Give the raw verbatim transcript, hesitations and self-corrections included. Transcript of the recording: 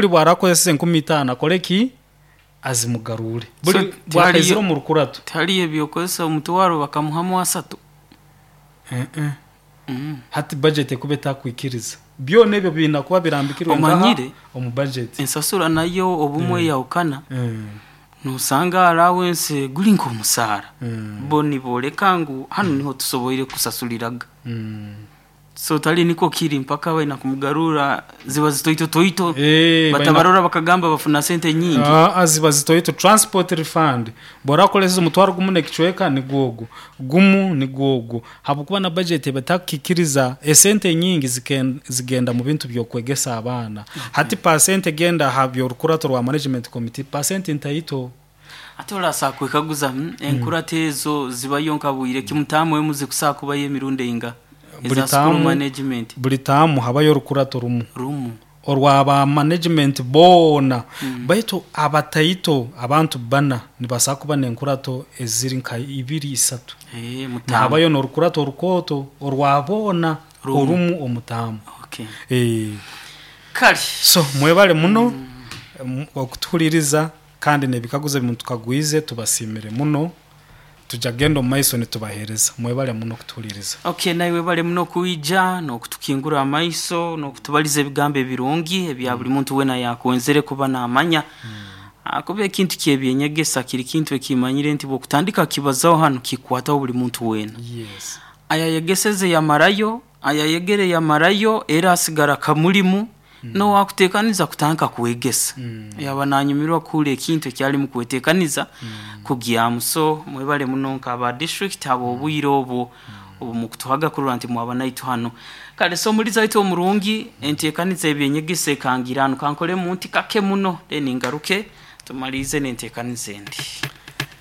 Buli bwarakozesa enkumi itaano, akole ki? Azimugarure buli So, bwakaizire tihariyo- omu rukurato. Tihariyo ebyokozesa omutwaro bakamuhamu asatu? Eh, eh. Mm. Hati budget ekuba etakwikiriza, byona ebyo biina kuba birambikirwe ngaha Omanyire? omu budget. Ensasura nayo obumwe yahukana. Mm. Nosanga allowance guli nk'omusaara, Mm. bo niboleka ngu hanu niho tusoboire kusasuliraga. Mm. So tali niko kiri mpaka baina kumugarura, ziba zitoito toito. Eh, baina- Batabarora bakagamba bafuna sente nyingi. Ah, ziba zitoito. Transport refund, bw'orakoleseza omutwaro gumu nekicweka, nigwogu gumu nigwogu, habwokuba na budget ebatakikiriza. Esente nyingi ziken- zigenda mu bintu byokwegesa abaana. Hati percent egenda ha byorukurato rwa management committee, percent ntaito. Ate orasa kwekaguza, mm, enkurata ezo zibayo nka bwire kimutamu emuze kusaa kubayo emirundi einga Buli eza school taamu- management? Buli taamu habayo orukurato rumu. Rumu. Orwaba management boona, baitu abataito, abantu bana nibasaa kuba nenkurato eziri nka ibiri, isatu. Eh, mutamu. Nahabayo norukurato orukooto orwa boona. Rumu. Orumu omutamu. Okay. Eh, kale. So mwebale muno mm, okutuhuliriza, kandi nebikaguzo bimu tukagwize, tubasimire muno. Tujja kugenda omu maiso nitubaheereza. Mwebale muno okutuhuliriza. Okay, naiwe bale muno kuija n'okutukingura amaiso n'okutubaliza ebigambo ebirungi ebya buli muntu wena yakwenzere kuba namanya. Ah, kuba ekintu kyebyenyegesa kiri kintu ekimanyire nti bwokutandika kibazaho hanu, kikwataho buli muntu wena. Yes. Ayayegeseze yamarayo, ayayegere yamarayo, era asigara kamulimu nowakutekaniza kutandika kwegesa, yaba nanyumirwa kuhura ekintu ekyalimu kwetekaniza kugyamu. So mwebale muno nk'aba district abo obwire obwo obu mukutuhaga kurora nti mwaba naitu hano. Kale, so omulizi waitu omurungi, enteekaniza ebyenyegesa ekangira hano, kankole munti kake muno, then ngaruke tumalize n'enteekaniza endi.